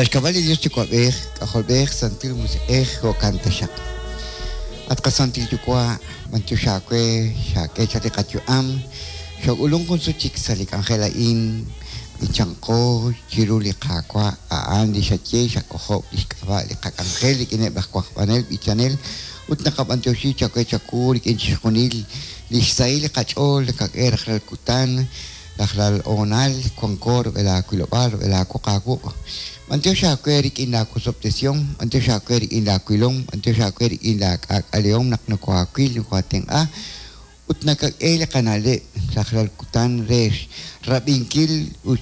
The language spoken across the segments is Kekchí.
Sa' xk'ab'a' li Dios Yuwa'b'ej, K'ajolb'ej, Santil Musiq'ej, jo'kan taxaq. At qaSantil Yuwa', b'antiox aawe xaak'e chaq li qayu'am, xook'ulunk jun sut chik sa' li k'anjel a'in, b'ichanqo chiru li Qaawa', a'an li xaye xak'ojob' lix k'ab'a' li qak'anjel rik'ineb' laj wajb'anel b'ichanel, ut naqab'antioxi chawe chawu rik'in chixjunil lix sahil li qach'ool nakak'e rajlal kutan, Rajlal hoonal wanko rub'el aawilob'aal, rub'el aawoq aawuq'. B'antiox aawe rik'in laawosob'tesihom, b'antiox aawe rik'in laawilom, b'antiox aawe rik'in laak'aak'alehom naq nokoohaawil, nokoohaatenq'a ut nakak'e li qana'leb' rajlal kutan re xrab'inkil ut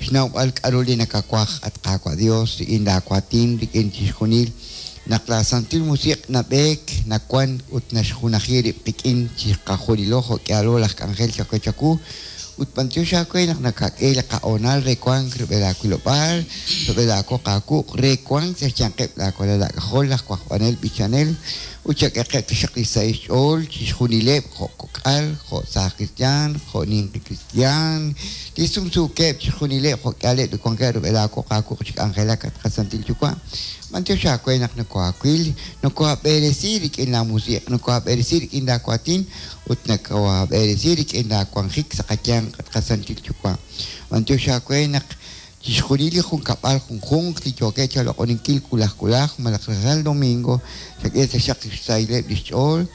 xnawb'al k'a'ru li nakawaj, at Qaawa' Dios, rik'in laawaatin, rik'in chixjunil naq laaSantil Musiq' nab'eek, nawan ut naxjunaji rib' qik'in chiqajunilo jo' k'ihalo laj k'anjel chawe chawu, ut b'antiox aawe naq nakak'e li qa'hoonal re wank rub'el aawilob'aal, rub'el aawoq aawuq', re wank sa' xyanqeb' laawalal aak'ajol laj wajb'anel b'ichanel, ut chak'eqeb' taxaq li sahil xch'ool chixjunileb' jo' kok'al, jo' saaj kristiaan, jo' ninqi kristiaan, li sumsuukeb' chixjunileb' jo' k'ihaleb' li wankeb' rub'el aawoq aawuq' chi k'anjelak, at qaSantil Yuwa'. B'antiox aawe naq nokohaawil, nokohaab'eresi rik'in laa Musiq', nokohaab'eresi rik'in laa waatin, ut nokohaab'eresi rik'in laa wanjik sa' qayanq, at qaSantil Yuwa'. B'antiox aawe naq chixjunil li junkab'al junjunq li yookeb' chaloq'oninkil wulaj wulaj malaj rajlal domingo, xak'e taxaq xsahileb' lix ch'ool.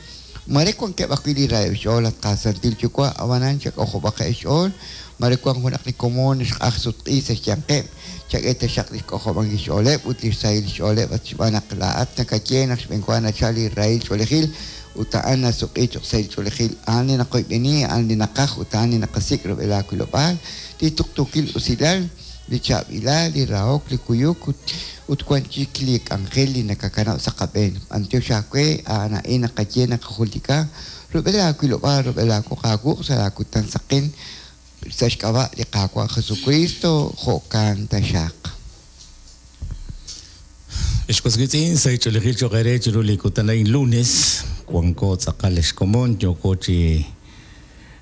Maare wankeb' ajwi' li raheb' xch'ool, at qaSantil Yuwa', ab'anan chak'ojob'aqeb' xch'ool. Maare wank junaq li komon xq'aj sutq'i sa' xyanqeb', chak'e taxaq li xk'ojob'ankil xch'ooleb' ut li xsahil xch'ooleb' at xb'aan naq laa'at nakaye naq xb'enwa nachal li rahil ch'oolejil ut a'an nasuq'i cho'q sahil ch'oolejil. A'an li naqoyb'eni, a'an li naqaj ut a'an li naqasik' rub'el aawilob'aal, li tuqtuukil usilal, li chaab'ilal, li rahok, li kuyuk ut ut wan chik li k'anjel li nakakanab' sa' qab'een. B'antiox aawe, a'an a'in naqaye naqajultika, rub'el aawilob'aal, rub'el aawoq aawuq' sa' laakutan saqen, sa' xk'ab'a' li Qaawa' Jesukristo, jo'kan taxaq. Ex was wiitz'in, sahil ch'oolejil cho'q eere chiru li kutan a'in lunes, wanko tz'aqal ex komon, yooko chi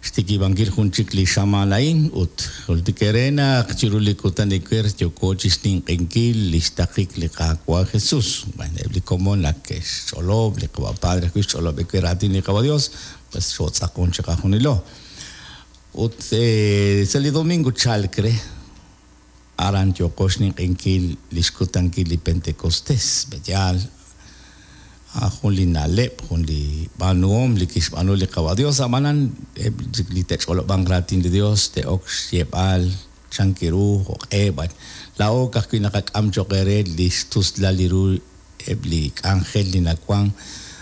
xtikib'ankil jun chik li xamaan a'in ut jultik eere naq chiru li kutan ewer yooko chi xninq'ehinkil li xtaqik li Qaawa' Jesus. Bueno, eb' li komon ak ke'xch'olob', li Qawa' Padre ajwi' xch'olob' ewer raatin li Qawa' Dios, pues xootz'aqon chiqajunilo. Ut sa' li domingo chalk re, Aran yooqo xninq'ehinkil li xkutankil li Pentecostés. Pe'yaal? A'an jun li na'leb', jun li b'aanuhom li kixb'aanu li Qawa' Dios. Ab'anan, eb' chik li te'ch'olob'anq raatin li Dios te'ok xyeeb'al chan ru, jo'q'e, b'ar. Laa'o ka'ajwi' naqak'am cho'q eere li xtuslal li ru eb' li k'anjel li nawank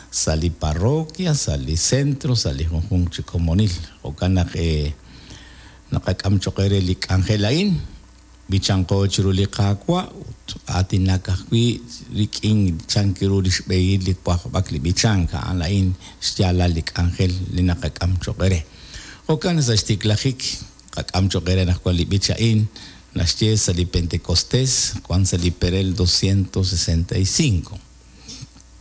sa' li parroquia, sa' li centro, sa' li junjunq chi komonil. Jo'kan naq Naqak'am cho'q eere li k'anjel a'in, b'ichanqo chiru li Qaawa' ut aatinak ajwi' rik'in chan ru li xb'ehil li wajb'ak li b'ichank, a'an a'in xyaalal li k'anjel li naqak'am cho'q eere. Jo'kan sa' xtiklajik qak'am cho'q eere anaqwan li b'ich a'in naxye sa' li Pentecostés, wank sa' li perel 265.